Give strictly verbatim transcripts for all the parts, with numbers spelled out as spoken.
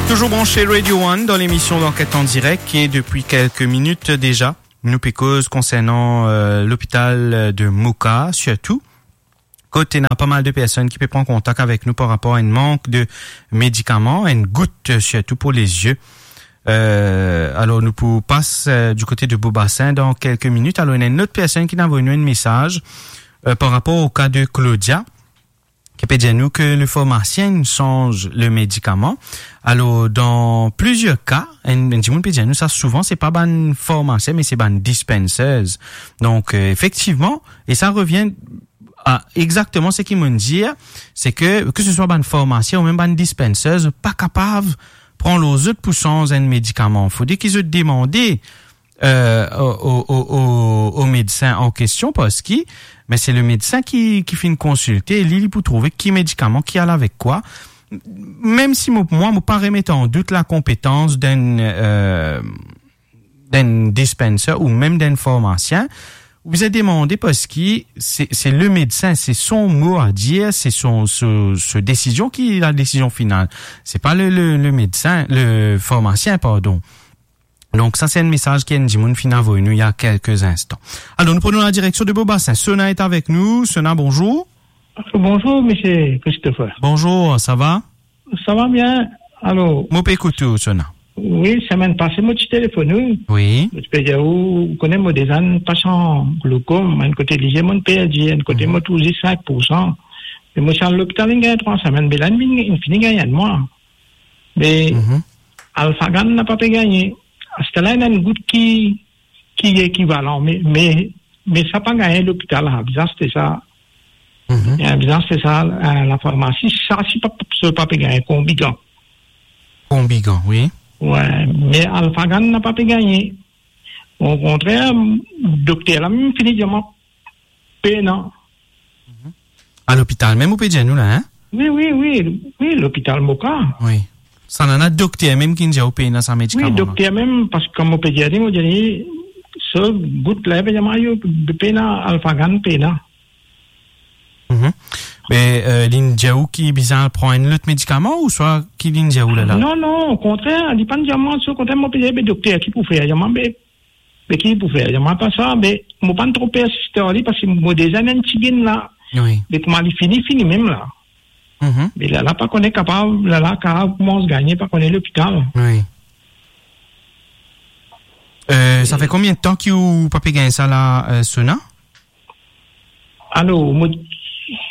Toujours branché Radio One dans l'émission d'Enquête en direct, e depi kelke minit deza, nou pe koz konsernan, euh, lopital de Moka, sirtou kot ena pa mal de personn ki pe pran kontak avek nou par rapor a enn mank de medikaman, enn gout, euh, sirtou pou lezie. Euh, alor, nou pou pas, euh, du kote de Beaubassin dan kelke minit. Alor, ena enn lot personn ki inn avoy nou enn mesaz, euh, par rapor o ka de Claudia, ki pe dir nou ke le farmasien inn sanz le medikaman. Alor, dan plizier ka, enn, enn dimoun pe dir nou sa souvan, se pa bann farmasien, me se bann dispensers. Donk, euh, efektivman, e sa revien a exakteman seki mo'nn dir, se ke, ke se swa bann farmasien ou mem bann dispensers, zot pa kapav pran lor zot pou sanz enn medikaman. Fode ki zot demande, euh, o, o, o, o, o medsin an kestion, parski, me se le medsin ki, ki finn konsilte, li, li pou trouve ki medikaman ki al avek kwa. Mem si mo, mwa, mo pa remet an dout lakonpetans d'enn, euh, d'enn dispenser ou mem d'enn farmasien, ou bizin demande parski se, se le medsin, se son mo a dir, se son, so, so desizion ki la desizion final. Se pa le, le, le medsin, le farmasien, pardon. Donk, sa se enn mesaz ki enn dimoun finn avoy nou il y a quelques instants. Alor, nou pran nou la direksion de Beaubassin. Sona est avec nous. Sona, bonjour. Bonjour, monsieur Christopher. Bonjour, ça va? Ça va bien. Alor, mo pe ekout ou, Sona. Wi, semenn pase, mo ti telefonn ou. Wi. Mo ti pe dir ou, ou kone mo deza enn pasian glaucome, enn kote lizie mo'nn perdi, enn kote mo touzour sink pou san. E mo ti al lopital, inn gagn trwa semenn, be la, inn vinn, inn fini gagn enn mwa. Me Alphagan napa pe gagne. Aster la, ena enn gout ki, ki ekivalan, me, me, me sa pa gagne lopital, la bizin aste sa. Mhm. Ena bizin aste sa, euh, lafarmasi, sa si pa, si pa pe gagne, Combigan. Combigan, wi. Wi, me Alphagan napa pe gagne. Okontrer, dokter la mem fini dir mwa pena. Mhm. A lopital mem ou pe dir nou la, hein? Wi, wi, wi, wi, lopital Moka. Wi. Sa nana dokter mem ki dir ou pena sa medikaman la? Wi, dokter mem, parski kan mo pe dir li, mo dir li, so gout la, pe dir mwa, yo, pena, Alphagan pena. Mhm. Me, euh, li'nn dir ou ki bizin pran enn lot medikaman ouswa ki li'nn dir ou la la? Non, non, okontrer, li pa'nn dir mwa, so okontrer, mo pe dir, be dokter, ki pou fer? Dir mwa, be, be ki pou fer? Dir mwa, pa sa, be mo pa'nn tro persiste ar li, parski mo deza ena enn tiginn la. Wi. Be kouma li fini, fini mem la. Mhm. Me la, la pa kone kapav, la, la kapav koumans gagne, pa kone lopital. Wi. Euh, sa fer konbien de tan ki ou pa pe gagn sa la, euh, Sona? Alor, mo,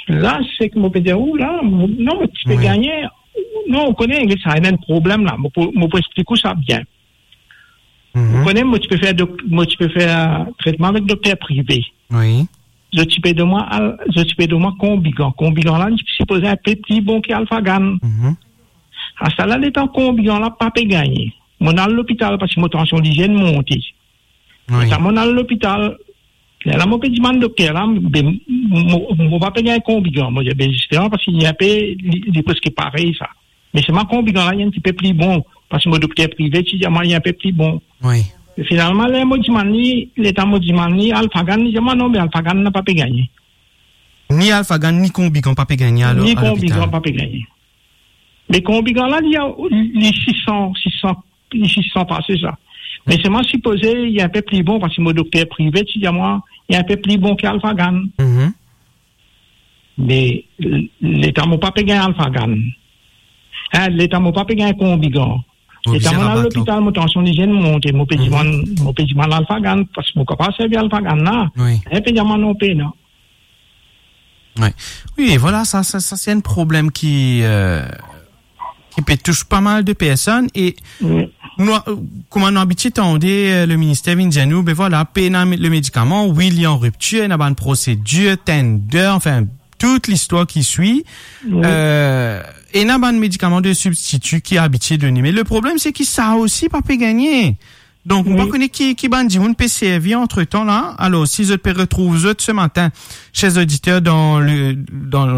la, seki mo pe dir ou la, mo, non, mo ti pe gagne, non, ou kone, sa ena enn problem la, mo pou, mo pou explik ou sa bien. Mhm. Ou kone, mo ti pe fer dok-, mo ti pe fer tretman avek dokter prive. Wi. Zot ti pe donn mwa al-, zot ti pe donn mwa Combigan. Combigan la, li sipoze enpe pli bon ki Alphagan. Mhm. Aster la, letan Combigan la pa pe gagne, mo'nn al lopital parski mo tansion lizie inn monte. Wi. Letan mo'nn al lopital, lerla mo pe dimann dokter la, be mo, mo pa pe gagn Combigan. Mo dir, be zisteman, parski li enpe, li, li preske parey sa. Me selman Combigan la, li enn tipe pli bon, parski mo dokter prive ti dir mwa li enpe pli bon. Wi. E finalman, ler mo dimann li, letan mo dimann li Alphagan, li dir mwa non, be Alphagan napa pe gagne. Ni Alphagan, ni Combigan pa pe gagne alor a lopital? Ni Combigan pa pe gagne. Me Combigan la, li, li sis san, sis san, li sis san pase sa. Me selman sipoze li enpe pli bon, parski mo dokter prive ti dir mwa li enpe pli bon ki Alphagan. Mhm. Me l-, letan mo pa pe gagn Alphagan, hein, letan mo pa pe gagn Combigan, letan mo'nn al lopital, mo tansion lizie inn monte, mo pe dimann, mo pe dimann Alphagan, parski mo kapav servi Alphagan la. Wi. Enn pe dimann non pena. Wi. Wi, e vwala, sa, sa, sa se enn problem ki, euh, ki pe tous pa mal de personn e nou, kouma nou abitie tande, euh, le minister vinn dir nou, be vwala, pena me-, le medikaman, wi, li an riptir, ena bann prosedir, tender, anfin, tout listwar ki swi. Wi. Euh, ena bann medikaman de sibstiti ki abitie done. Me le problem, se ki sa osi pa pe gagne. Donk, mo pa kone ki, ki bann dimoun pe servi antretan la. Alor, si zot pe retrouv zot se matin, cher zoditer, dan le, dan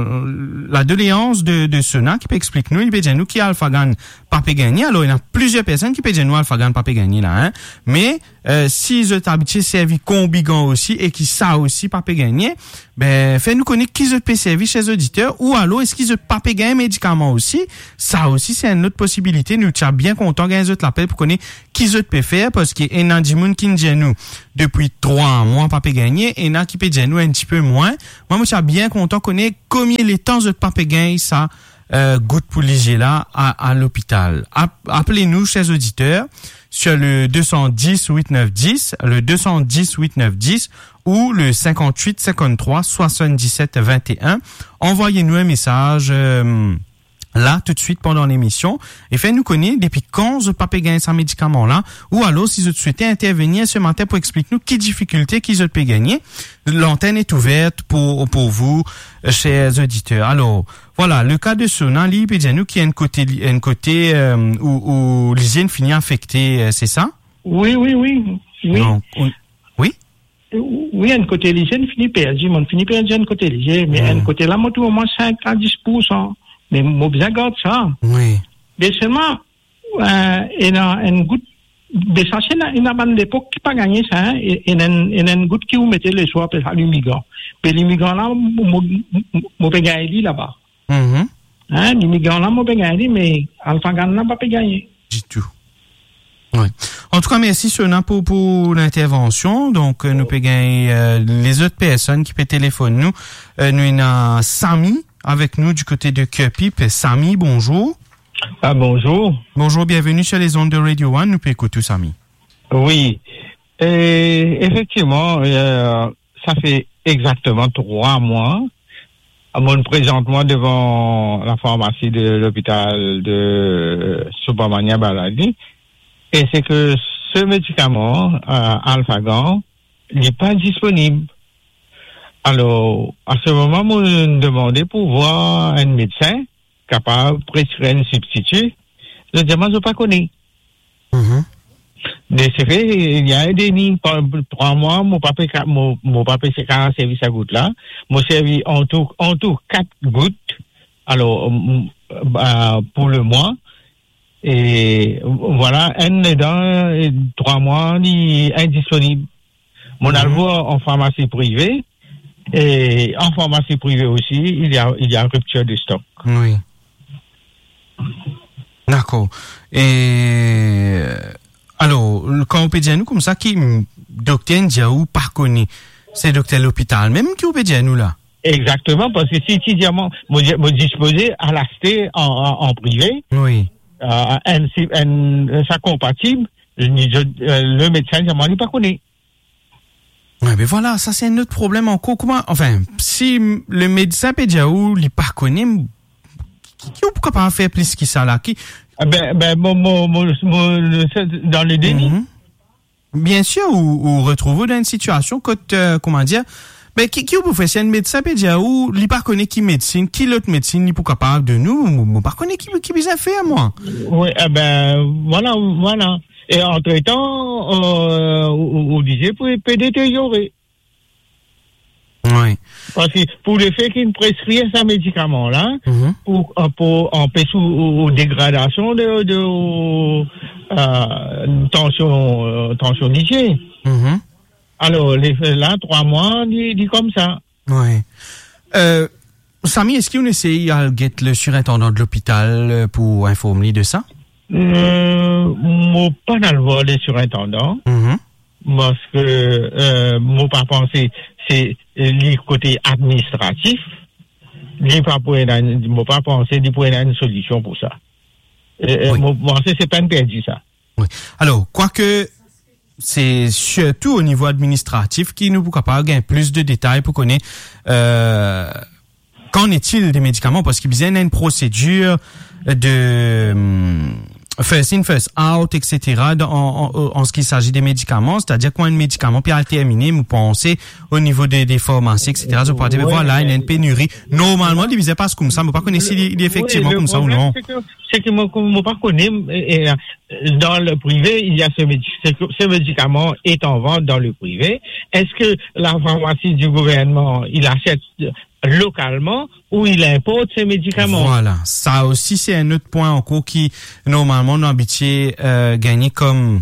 la doleans de, de Sona, ki pe explik nou, li pe dir nou ki Alphagan pa pe gagne. Alor, ena plizier personn ki pe dir nou Alphagan pa pe gagne la, hein. Me, eh, si zot abitie servi Combigan osi e ki sa osi pa pe gagne, be, fer nou kone ki zot pe servi, cher zoditer, ou alor eski zot pa pe gagn medikaman osi? Sa osi, se enn lot posibilite. Nou ti a bien kontan gagn zot lapel pou kone ki zot pe fer, parski ena dimoun ki dir nou depi trwa mwa pa pe gagne, ena ki pe dir nou enn tipe mwin. Mwa, mo ti a bien kontan kone konbien letan zot pa pe gagn sa, eh, gout pou lizie la a, a lopital. Ap-, apel nou, cher zoditer, sur le deux cent dix huit neuf dix, le deux cent dix huit neuf dix ou le cinquante-huit cinquante-trois soixante-dix-sept vingt et un. Anvoy nou enn mesaz, eh, la, toutswit pandan lemision, e fer nou kone depi kan zot pa pe gagn sa medikaman la, ou alor si zot swete intervenir se matin pou explik nou ki difikilte ki zot pe gagne. L'antenne est ouverte pour, pour vous, cher zoditer. Alor, vwala, le ka de Sona, li pe dir nou ki enn kote li, enn kote, eh, ou, ou lizie inn fini afekte, eh, se sa? Wi, wi, wi. Wi. Donk, ou, wi? Wi, enn kote lizie inn fini perdi, mo'nn fini perdi enn kote lizie, me enn kote la, mo trouv omwin sink a dis poursan. Me mo bizin gard sa. Wi. Me selman, eh, ena enn gout, be sa se ena, ena bann lepok ki pa gagne sa, hein, e, ena enn, ena enn gout ki ou mete leswar, apel sa limigan. Be limigan la, mo, mo, mo pe gagn li laba. Mhm. Hein, limigan la, mo pe gagn li, me Alphagan la, pa pe gagne. Ditou. Wi. Antouka, mersi Sona pou, pou lintervansion. Donk, eh, nou pe gagn, eh, lezot personn ki pe telefonn nou. Eh, nou ena Sami avek nou du kote de Kerpip. Sami, bonzour. Ah, bonzour. Bonzour, bienveni sur les ondes de Radio One. Nou pe ekout ou, Sami. Wi. E, efektivman, eh, sa fer exakteman trwa mwa. Mo'nn prezant mwa devan lafarmasi de lopital de Subramania Baladi. E se ke se medikaman, eh, Alphagan, li pa disponib. Alor, a se moman, mo'nn demande pou vwar enn medsin kapav preskrir enn sibstiti. Zot dir mwa zot pa kone. Mhm. De se fe, li ena enn demi, pandan trwa mwa, mo pa pe ka-, mo, mo pa pe ka servi sa gout la. Mo servi antou, antou kat gout. Alor, m-, ba, pou le mwa. E vwala, enn ladan, eh, trwa mwa, li indisponib. Mo'nn al vwar an farmasi prive, e an farmasi prive osi, il y a, il y a rupture de stock. Wi. Dakor. E, alor, kan ou pe dir nou koumsa ki, mm, dokter inn dir ou pa kone, se dokter lopital mem ki ou pe dir nou la? Exakteman, parski si ti dir mwa, mo, mo dispoze al aste an, an, an prive, wi, eh, enn si-, enn, sa konpatib, li, eh, le medsin dir mwa li pa kone. Wi, me vwala, sa se enn lot problem ankor. Kouma, anfin, si m-, le medsin pe dir ou li pa kone, m-, ki, ki ou pou kapav fer plis ki sa la? Ki... Ah ben, ben, mo, mo, mo, mo, se dan le deni. Mhm. Biensir, ou, ou retrouv ou dan enn sitiasion kot, eh, kouma dir, me ki, ki ou pou fer si enn medsin pe dir ou li pa kone ki medsin, ki lot medsin li pou kapav donn ou? Mo, mo pa kone ki, ki bizin fer, mwa. Wi, eh ben, vwala, vwala. E antretan, eh, ou, ou, ou lizie pou, pe deteryore. Wi. Parski pou le fe ki inn preskrir sa medikaman la, mhm, pou, eh, pou anpes ou, ou, ou degradasion de, de, eh, tansion, eh, tansion lizie. Mhm. Alor, le, la, trwa mwa, li, li koumsa. Wi. Eh, Sami, eski ou inn esey al get le sirintandan de lopital, eh, pou inform li de sa? Eh, mo pa'nn al vwar le sirintandan. Mhm. Parski, eh, mo pa panse se li kote administratif, li pa pou ena, mo pa panse li pou ena enn solision pou sa. Eh, eh, wi, mo panse se penn perdi sa. Wi. Alor, kwake se sirtou o nivo administratif ki nou pou kapav gagn plis de detay pou kone, eh, qu'en est-il des médicaments, parski bizin ena enn prosedir de, hmm, first in, first out, et cetera, dan, an, an, an, an ce qui s'agit de medikaman, setadir kan enn medikaman pe al termine, mo panse, o nivo de, de farmasi, et cetera, zot pou dir, "Wi, vwala, ena enn peniri." Normalman, li bizin pas koumsa, mo pa kone si li, li efektivman koumsa ou non. Wi, le problème, c'est que, c'est que moi, comme moi, pas connu, et, et, euh, dans le privé, il y a ce médi-, ce, ce médicament est en vente dans le privé. Est-ce que la pharmacie du gouvernement, il achète localement ou il importe ces médicaments ? Vwala, sa osi se enn lot pwin ankor ki, normalman, nou abitie, euh, gagne kom,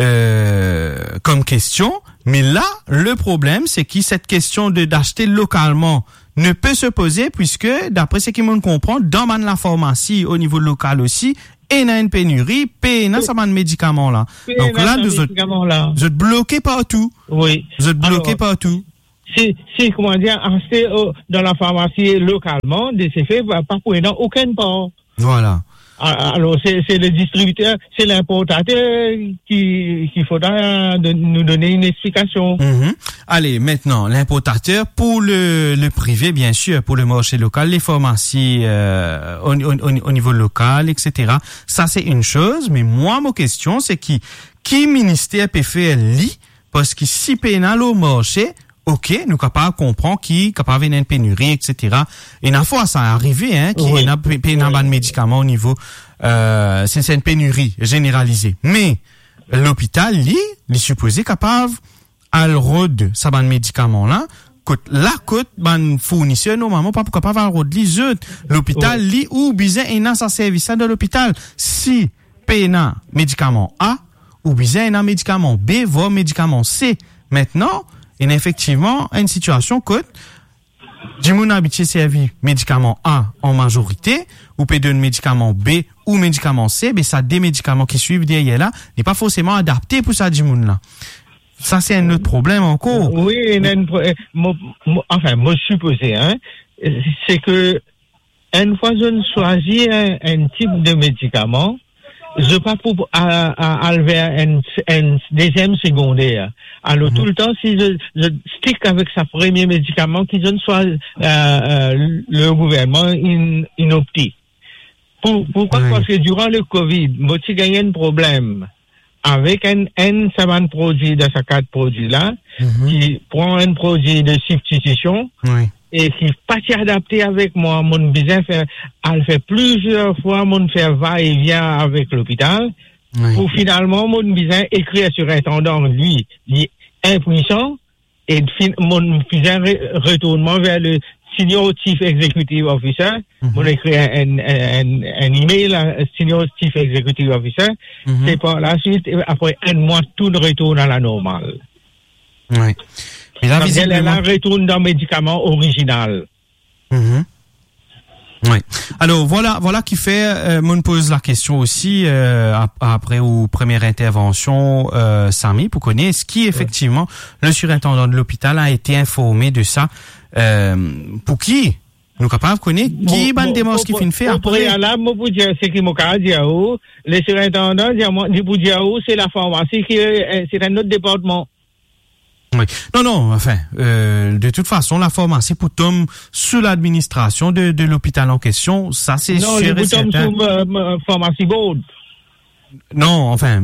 euh, kom kestion. Me la, le problem, se ki set kestion de, d'acheter localement ne peut se poser, puisque, d'après ce que mo konpran, dan bann lafarmasi, o nivo lokal osi, ena enn peniri, pena sa bann medikaman la. Donk la, sa medikaman la, zot bloke partou. Wi. Zot bloke partou. Alor, si, si, kouma dir, aste, euh, dan lafarmasi lokalman, de se fe, pa, pa pou ena okenn par. Vwala. A-, alor, se, se le distribiter, se linportater ki, ki fodra de, nou done enn explikasion. Mhm. Ale, aster, linportater pou le, le prive, biensir, pou le marse lokal, le farmasi, euh, o, o, o, o nivo lokal, et cetera. Sa, se enn soz, me mwa, mo kestion, se ki, ki minister pe fer li, parski si pena lor marse, ok, nou kapav konpran ki kapav ena enn peniri, et cetera. Ena fwa sa arive, hein, ki ena pe-, pena bann medikaman o nivo, euh, se, se enn peniri zeneralize. Me lopital, li, li sipoze kapav al rod sa bann medikaman la, kot la, kot bann fourniser, normalman, pa pou kapav al rod li zot. Lopital, li, ou bizin ena sa servis la dan lopital. Si pena medikaman A, ou bizin ena medikaman B, vwar medikaman C. Aster, ena efektivman enn sitiasion kot dimoun abitie servi medikaman A an mazorite, ou pe donn medikaman B ou medikaman C, be sa de medikaman ki swiv deryer la, li pa forseman adapte pou sa dimoun la. Sa, se enn lot problem ankor. Wi, ena enn pro-, eh, mo, mo, anfin, mo sipoze, hein, se ke enn fwa zot swazir enn, enn tip de medikaman, zot pa pou a-, a-, al ver enn, enn deziem segonder. Alor, toultan, si zot, zot stick avek sa premie medikaman ki zot swazir, euh, euh, le gouvernman inn, inn opte. Pou, poukwa ? Wi. Parski diran le Covid, mo ti gagn enn problem avek enn, enn sa bann prodwi dan sa kat prodwi la, ki pran enn prodwi de sibstitision e ki pa ti adapte avek mwa, mo'nn bizin fer, al fer plizier fwa, mo'nn fer va-e-vien avek lopital, pou finalman mo'nn bizin ekrir sirintandan, li, li inpwisan, e fin-, mo'nn bizin re-, retournman ver le Senior Chief Executive Officer, mo'nn ekrir enn, enn, enn, enn email a Senior Chief Executive Officer, se par laswit, apre enn mwa, tou retourn a la normal. Wi. Me la, sa vedir, vizibleman, la retourn dan medikaman orizinal. Wi. Alor, vwala, vwala ki fer, euh, mo'nn poz lakestion osi, euh, ap-, apre ou premie intervansion, euh, Samy, pou kone eski efektivman le sirintandan de lopital a ete informe de sa, euh, pou ki nou kapav kone ki bann demars ki finn fer apre. Prealab, mo pou dir, seki mo kapav dir ou, le sirintandan, dir mwa, li pou dir ou, se lafarmasi ki, euh, se enn lot departman. Wi. Non, non, anfin, euh, de tout fason, lafarmasi pou tom sou ladministrasion de, de lopital an kestion, sa se sir e serten. Non, li pou tom sou, euh, euh, Pharmacy Board. Non, anfin,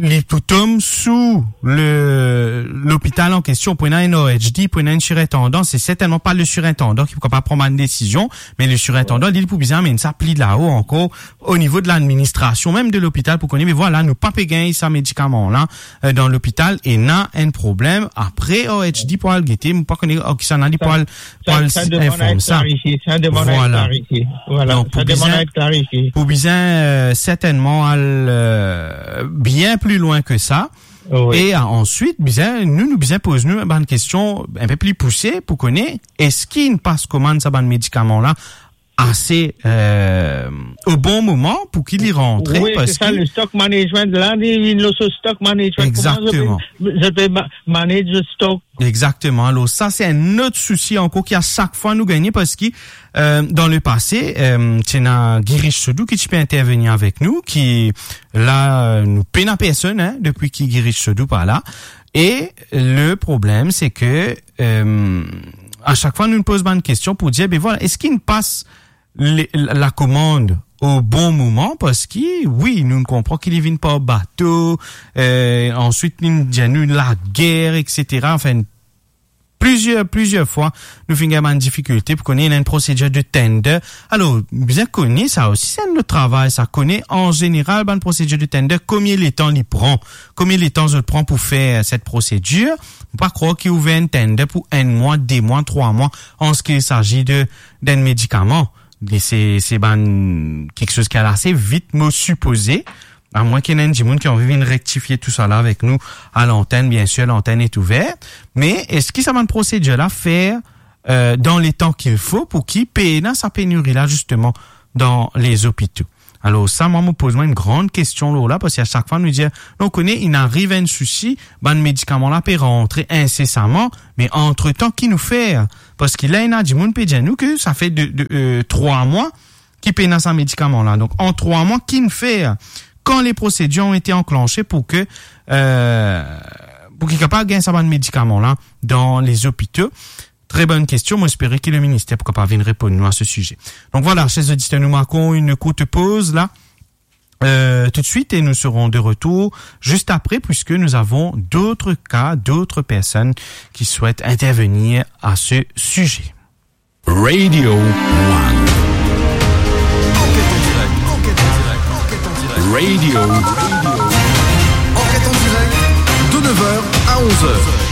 li pou tom sou le, lopital an kestion, pou ena enn R H D, pou ena enn sirintandan, se sertennman pa le sirintandan ki pou kapav pran bann desizion, me le sirintandan, li, li pou bizin amenn sa pli lao ankor, o nivo de ladministrasion mem de lopital, pou kone, me vwala, nou pa pe gagn sa medikaman la, euh, dan lopital, ena enn problem. Apre, R H D pou al gete, mo pa kone, oh, kisannla li pou al, pou al inform sa. Sa demann a et klarifie. Sa demann a et klarifie. Vwala. Donk, pou bizin, pou bizin, euh, sertennman al, euh, bien pli lwin ke sa. Wi. E, euh, answit, bizin, nou, nou bizin poz nou bann kestion enpe pli pouse pou kone, eski inn pas komann sa bann medikaman la ase, euh, o bon moman pou ki li rantre, wi, se parski sa, le stock management la, li, li, le stock management, kouma zot pe, zot pe ma-, manage le stock. Egzakteman. Alor, sa, se enn lot sousi ankor ki a sak fwa nou gagne, parski, euh, dan lepase, euh, ti ena Girish Sodhoo ki ti pe intervenir avek nou, ki la, euh, nou pena personn, hein, depi ki Girish Sodhoo pa la. E le problem, se ke, euh, a sak fwa nou poz bann kestion pou dir, be vwala, eski inn pas le, la, lakomand o bon moman, parski, wi, nou konpran ki li vinn par bato, eh, answit li dir nou lager, et cetera. Anfin, plizier, plizier fwa, nou finn gagn bann difikilte pou kone ena enn prosedir de tender. Alor, bizin kone sa osi, se enn lot travay sa, kone an zeneral bann prosedir de tender, komie letan li pran, komie letan zot pran pou fer set prosedir. Ou pa krwar ki ouver enn tender pou enn mwa, de mwa, trwa mwa, an se ki il s'agit de, d'enn medikaman. Li se, se bann kiksoz ki al ase vit, mo sipoze. Amwin ki ena enn dimoun ki anvi vinn rektifie tousala avek nou a lantenn, biensir, lantenn est ouverte. Me eski sa bann prosedir la fer, euh, dan letan ki fo pou ki pena sa peniri la, zisteman, dan lezopito? Alor sa, mwa, mo poz mwa enn gran kestion lor la, parski a sak fwa nou dir, nou kone, inn ariv enn sousi, bann medikaman la pe rantre insesaman, me antretan, ki nou fer? Parski la, ena dimoun pe dir nou ki sa fer de, de, euh, trwa mwa ki pena sa medikaman la. Donk, an trwa mwa, ki nou fer? Kan les procédures ont été enclenchées pour que, euh, pour ki kapav gagn sa bann medikaman la dan lezopito? Très bonne question. Mo espere ki le minister pou kapav vinn reponn nou a se size. Donc voilà, chers auditeurs, nous marquons une courte pause là, euh, tout de suite et nous serons de retour juste après, puisque nous avons d'autres cas, d'autres personnes qui souhaitent intervenir à ce sujet. Radio One. Enquête en direct, enquête en direct, enquête en direct. Radio. Enquête en direct, de neuf heures à onze heures.